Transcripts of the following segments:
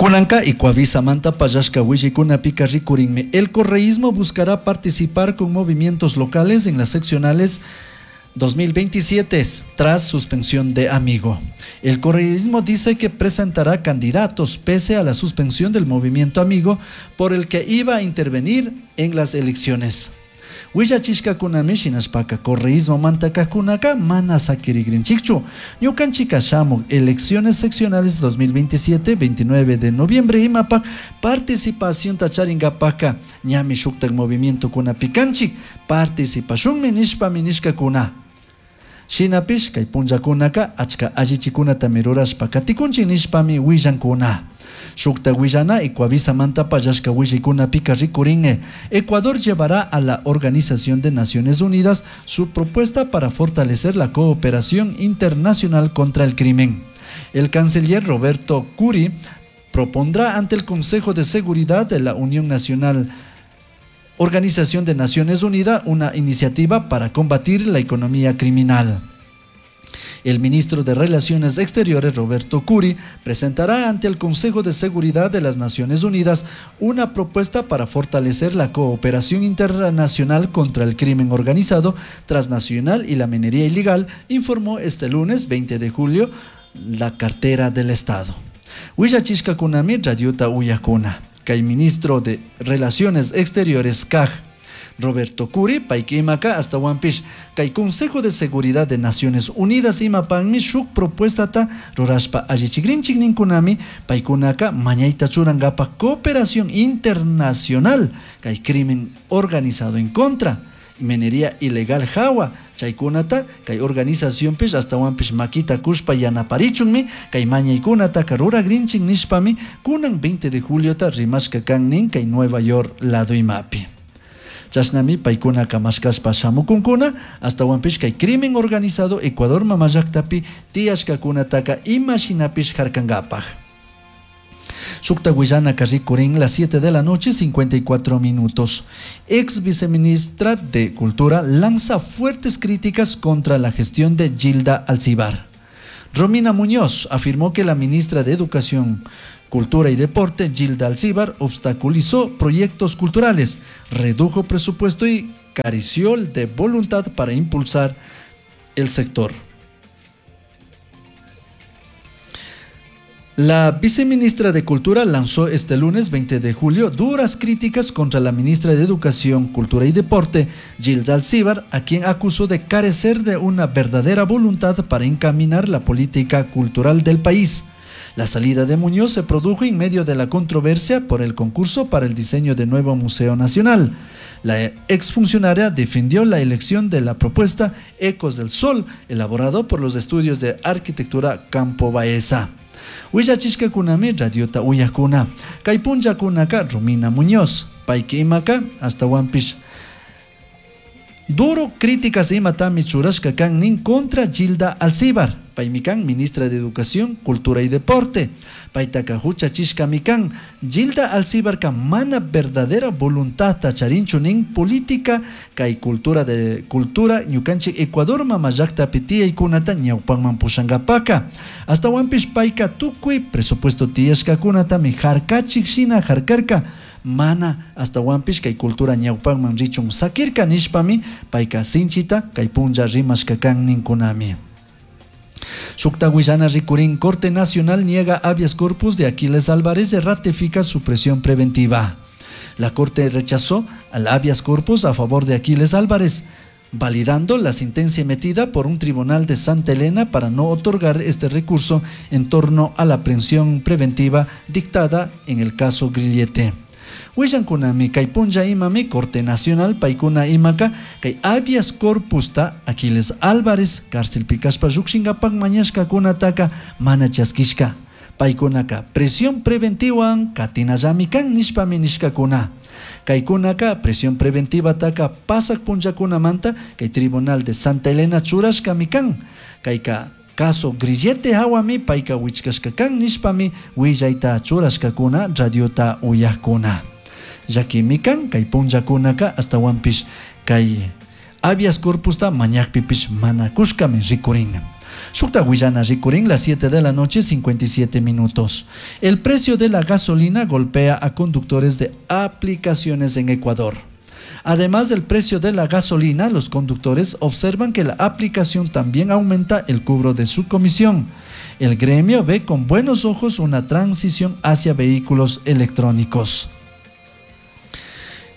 Kunanka Ecuavisamanta pallashka willaykunapika rikurinmi. El correísmo buscará participar con movimientos locales en las seccionales 2027 tras suspensión de Amigo. El correísmo dice que presentará candidatos pese a la suspensión del movimiento Amigo por el que iba a intervenir en las elecciones. Willachishcacunami shinashpaca correísmomanta cajcunaca mana saquirigrinchicchu. Ñucanchica shamuc elecciones seccionales 2027, 29 de noviembre imapac participacionta charingapaca ñami shuctac movimientocunapi canchic participashunmi nishpami nishcacuna. Shinapish cai punllacunaca achca allichicunatami rurashpa caticunchic nishpami huillancuna. Shucta huillana Ecuavisamanta pallashca huillaicunapica ricurin. Ecuador llevará a la Organización de Naciones Unidas su propuesta para fortalecer la cooperación internacional contra el crimen. El canciller Roberto Curi propondrá ante el Consejo de Seguridad de la Unión Nacional Organización de Naciones Unidas una iniciativa para combatir la economía criminal. El ministro de Relaciones Exteriores, Roberto Curi, presentará ante el Consejo de Seguridad de las Naciones Unidas una propuesta para fortalecer la cooperación internacional contra el crimen organizado transnacional y la minería ilegal, informó este lunes 20 de julio la cartera del Estado. Huillachishcacunami radiota uyacuna. Kay ministro de Relaciones Exteriores CAJ, Roberto Curi, payka imaka ashtahuanpish kay Consejo de Seguridad de Naciones Unidas imapakmi shuk propuestata rurashpa allichikrinchik ninkunami paykunaka mañayta churankapak cooperación internacional kay crimen organizado en contra minería ilegal hawa chaykunata kay organizacionpish ashtahuanpish makita kushpa yanaparichunmi kay mañaykunataka ruragrinchik nishpami kunan 20 de juliota rimashka kan nin kay Nueva York lado imapi. Chashnami paykunaka mashkashpa shamukunkuna ashtahuanpish kay crimen organizado Ecuador mamallaktapi tiyashkakunataka ima shinapish harkankapak. Shukta huillanaka rikurin las 7 de la noche 54 minutos. Ex viceministra de Cultura lanza fuertes críticas contra la gestión de Gilda Alcibar. Romina Muñoz afirmó que la ministra de Educación, Cultura y Deporte, Gilda Alcibar, obstaculizó proyectos culturales, redujo presupuesto y careció de voluntad para impulsar el sector. La viceministra de Cultura lanzó este lunes 20 de julio duras críticas contra la ministra de Educación, Cultura y Deporte, Gilda Alcíbar, a quien acusó de carecer de una verdadera voluntad para encaminar la política cultural del país. La salida de Muñoz se produjo en medio de la controversia por el concurso para el diseño del nuevo Museo Nacional. La exfuncionaria defendió la elección de la propuesta Ecos del Sol, elaborado por los estudios de arquitectura Campo Baeza. Huillachishcacunami radiota uyajcuna. Kay punllacunaka Romina Muñoz, payki imaka ashtahuanpish duro críticas imatami churashka kan nin contra Gilda Alcibar, paymi kan ministra de Educación, Cultura y Deporte. Paytaka huchachishkami kan Gilda Alcibarka mana verdadera voluntadta charinchu nin política kay cultura de cultura ñukanchik Ecuador mama llaktapi tiyaykunata ñawpanman pushankapaka. Ashtahuanpish payka tukuy presupuesto tiyashkakunatami harkachik shina harkarka. Mana ashtahuanpish kay cultura ñawpanman richun sakirka nishpami payka sinchita kay punlla rimashka kan ninkunami. Shukta huillana rikurin Corte Nacional niega habeas corpus de Aquiles Álvarez y ratifica su prisión preventiva. La Corte rechazó al habeas corpus a favor de Aquiles Álvarez, validando la sentencia emitida por un tribunal de Santa Elena para no otorgar este recurso en torno a la prisión preventiva dictada en el caso Grillete. Huillankunami kay punlla imami Corte Nacional paykuna imaka kay habeas corpusta Aquiles Álvarez cárcelpi kashpa llukshinkapak mañashkakunataka mana chaskishka. Paykunaka prisión preventivan katinallami kan nishpami nishkakuna. Kaykunaka prisión preventivataka pasak punllakunamanta kay Tribunal de Santa Elena churashkami kan. Kayka caso Grillete hawami payka wichkashka kan nishpami willayta churashkakuna radiota uyajkuna. Llakimi kan kay punllakunaka ashtahuanpish kay habeas corpusta mañakpipish mana kushkami rikurin. Shukta willana rikurin las 7 de la noche 57 minutos. El precio de la gasolina golpea a conductores de aplicaciones en Ecuador. Además del precio de la gasolina, los conductores observan que la aplicación también aumenta el cobro de su comisión. El gremio ve con buenos ojos una transición hacia vehículos electrónicos.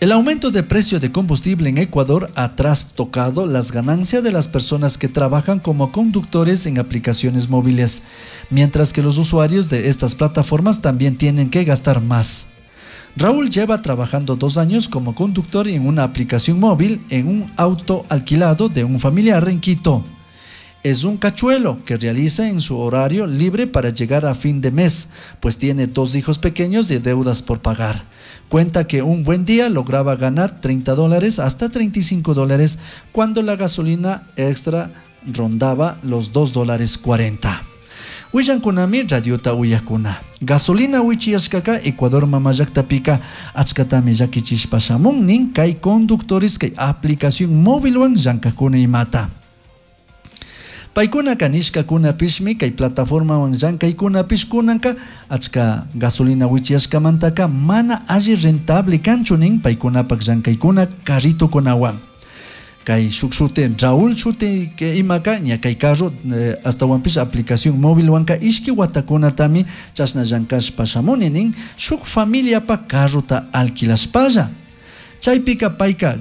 El aumento de precio de combustible en Ecuador ha trastocado las ganancias de las personas que trabajan como conductores en aplicaciones móviles, mientras que los usuarios de estas plataformas también tienen que gastar más. Raúl lleva trabajando 2 años como conductor en una aplicación móvil en un auto alquilado de un familiar en Quito. Es un cachuelo que realiza en su horario libre para llegar a fin de mes, pues tiene 2 hijos pequeños y deudas por pagar. Cuenta que un buen día lograba ganar $30 hasta $35 cuando la gasolina extra rondaba los $2.40. Willankunami radiota uyakuna. Gasolina wichiyashkaka Ecuador mamallaqtapika achkatami llakichishpa shamun nin kay conductores kay aplicación móvilwan llankakuna imata. Paykunaka nishkakunapishmi kay plataformawan llankaykunapish kunanka achka gasolina wichiyashkamantaka mana alli rentable kanchu nin paykunapak llankaykuna carritokunawan. Kay shuk shuti Raúl shuti ke imaka ña kay carro astawanpish aplicación móvilwanka ishki watakunatami chashna llankashpa shamuni nin shuk familiapa carrota alquilashpalla. Chaypika payka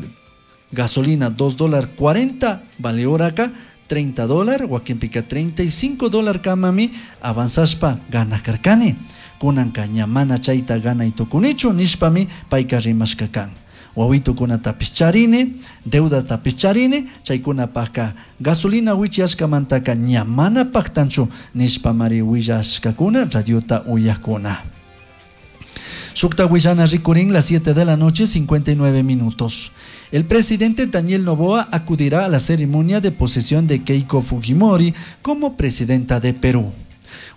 gasolina $2.40 vale horaka $30, wakinpika $35 kamami avanzashpa ganakarkani. Kunanka ña mana chayta ganay tukunichu nishpami payka rimashka kan. Wawitukunatapish charini, deudatapish charini, chaykunapajka gasolina wichiyashkamantaka ña mana paktanchu nishpamari willashkakuna radiota uyakuna. Shukta willana rikurin las 7 de la noche 59 minutos. El presidente Daniel Noboa acudirá a la ceremonia de posesión de Keiko Fujimori como presidenta de Perú.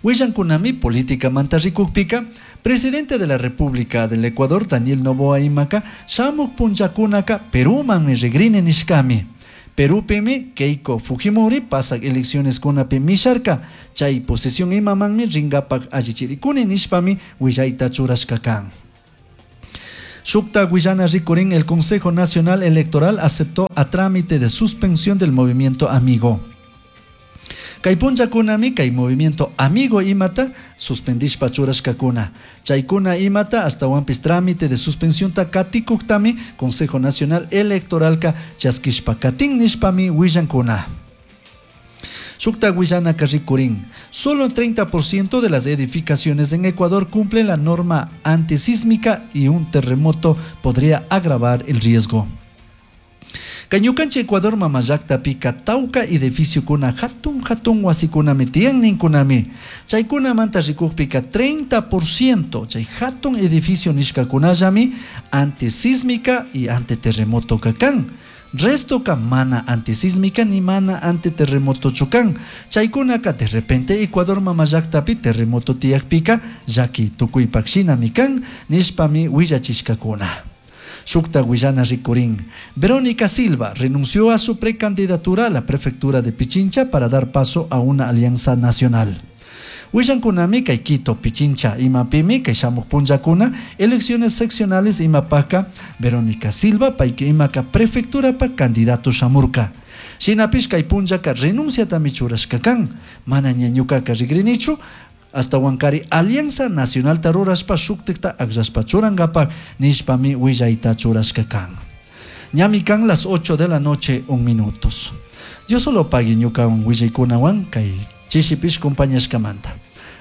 Willankunami política manta rikukpika, presidente de la República del Ecuador Daniel Noboa imaka shamuk punllakunaka Perúmanmi rigrini nishkami. Perúpimi Keiko Fujimori pasak elecciones kunapi misharka, chay posesión imamanmi ringapak allichirikuni nishpami willayta churashka kan. Shukta Guayana rikurin, el Consejo Nacional Electoral aceptó a trámite de suspensión del movimiento Amigo. Kay punllakunami kay movimiento Amigo imata suspendishpa churashkakuna. Chaykuna imata astawanpis trámite de suspensión ta katikuktami Consejo Nacional Electoralka chaskishpa katin nishpami willankuna. Shukta Guayana rikurin, solo el 30% de las edificaciones en Ecuador cumplen la norma antisísmica y un terremoto podría agravar el riesgo. Kay ñukanchik Ecuador mamallaqtapika tawka edificiokuna hatun hatun wasikunami tiyan ninkunami. Chaykunamanta rikukpika 30% chay hatun edificio nishkakunallami antisísmica y antiterremoto kan. Resto ka mana antisísmica ni mana antiterremoto chukan. Chaykunaka de repente Ecuador mamallaqtapi terremoto tiyakpika llaki tukuypak shinami kan nishpami willachishkakuna. Shukta Guayana rikurin. Verónica Silva renunció a su precandidatura a la prefectura de Pichincha para dar paso a una alianza nacional. Willankunami kay Quito, Pichincha, imapimi kay shamuk punllakuna, elecciones seccionales imapaka Verónica Silva payka imaka prefectura pa candidato shamurka. Shinapish kay punllaka renunciatami churashka kan. Mana ña ñukaka rigrinichu, hasta Huancari Alianza Nacional rurashpa shuktikta akllashpa churankapak nishpami willayta churashka kan. Ñami kan las 8 de la noche, 1 minutos. Dios solo pague ñukawan willaykunawan kay chishipish compañashkamanta.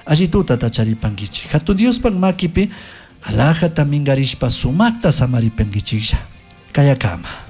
Allí tuta tacharipankichik. Hatun Diospak makipi alajata mingarishpa sumakta samaripankichiklla. Kayakama.